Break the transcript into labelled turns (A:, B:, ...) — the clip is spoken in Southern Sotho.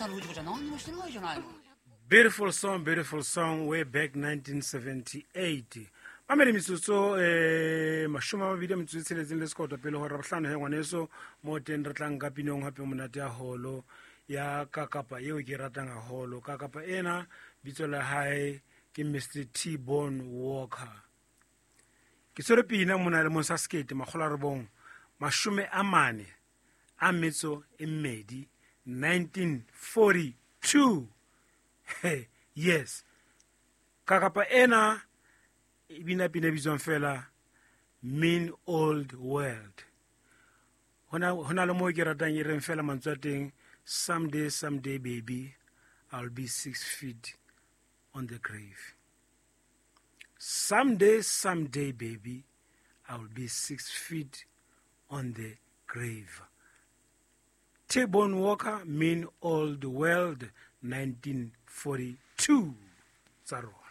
A: さんの藤子ちゃん何にもしてないじゃないの。
B: Beautiful song, beautiful song, way back 1978. Mamele metsotso 20 a metsotso e tsheletseng le sekoto pele gore bohlano he ngwaneso mo teng re tlang ka pinong gape monate ya holo ya kakapa eo ke e ratang haholo. Kakapa ena bitso la hae ke Mr T Bone Walker. Ke tshwere pina mona le mong sa 1942, 1942. Hey, yes, kakapa ena e bina pina e bitswang fela Mean Old World. Hona le moo ke ratang e reng fela mantswe a teng, someday, someday baby, I'll be 6 feet on the grave. Someday, someday baby, I'll be 6 feet on the grave. T-Bone Walker, Mean Old World, 1942. Tsa rona.